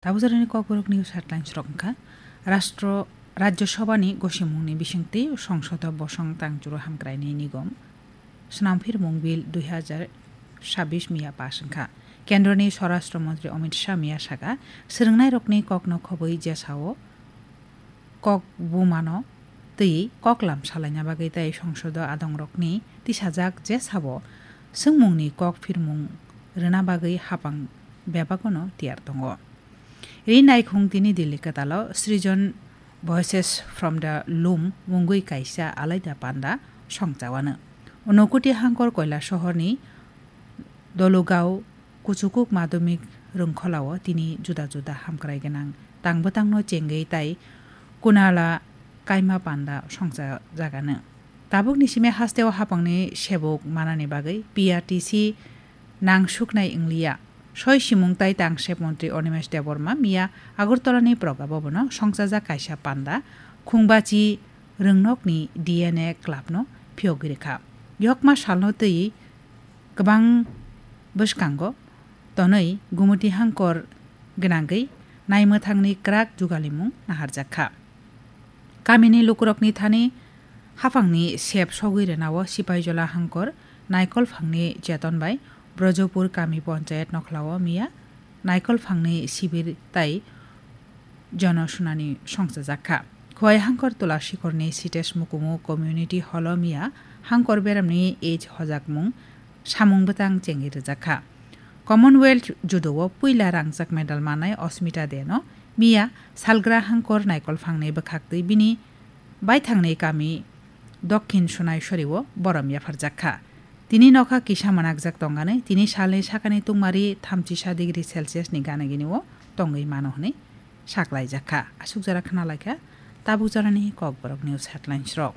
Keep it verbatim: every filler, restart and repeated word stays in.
Tabuk jarani Kokborok news headlines rok wngkha, Rastro, Rajya Sabhani gosimungni bisingtwi Songsodo bosong tangchuru hamkraini nigom, Snamphirmung Bill dui hazar sabbish miya pass wngkha. Kendroni Swarashtra Montri Amit Shah miya saka, swrwngnairokni kokno khobwi jesao kok bumano twi koklam salaina bagwi tei Songsodo adongrokni tisajak jesabo swngmungni kok phirmung rwna bagwi hapang bebagono tiyar tongo. Ri naikhung tini Delhi kwtalo Srijan Voices from the Loom mungwi kaisa alaida panda songchawano. Unokoti Hangkor Koila sohorni Dolugao Kuchukuk Madhyamik Rwngkholao tini juda juda hamkrai gwnang tangbwtangno chengwi tai Kunala kaima panda songchajagano. Tabukni simi hasteo hapangni sebuk manani bagwi P R T C nangsuknai wngliya. Soi simung tai tangsep montri Animesh Debbarma miya Agartalani Praga Bhabono songchajak kaisa panda khungbachi rwngnokni D N A clubno phiyogwi rwkha. Yokma salno twi kwbang bwskango tonwi Gumoti Hangkor gwnangwi naimwthangni kwrak jugalimung naharjakha. Kamini lukurokni thani haphangni sep sogwi rwnao Sipaijola Hangkor Naikolphangni cheton bai Brojopur kami ponchayat nokhlao miya Naikolphangni sibir tai jono sunani songchajakha. Khowai Hangkor Tulasikorni Sitesh Mukumu Community Hall-o miya Hangkor beramni age hojakmung samung bwtang chengwi rwjakha. Commonwealth Judo-o puila rangjak medal manai Osmita Deno miya salgra Hangkor Naikolphangni bwkhaktwi bini baithangni kami Dokhin Sunaisori-o borom yapharjakha. Tini nokha kisa manakjak tongani, tini salni sakani tungmari thamchisa degree Celsius ni gana gini o tongwi mano hwnwi saklaijakha. Aswk jora khna laikha tabuk jorani Kokborok news headlines rok.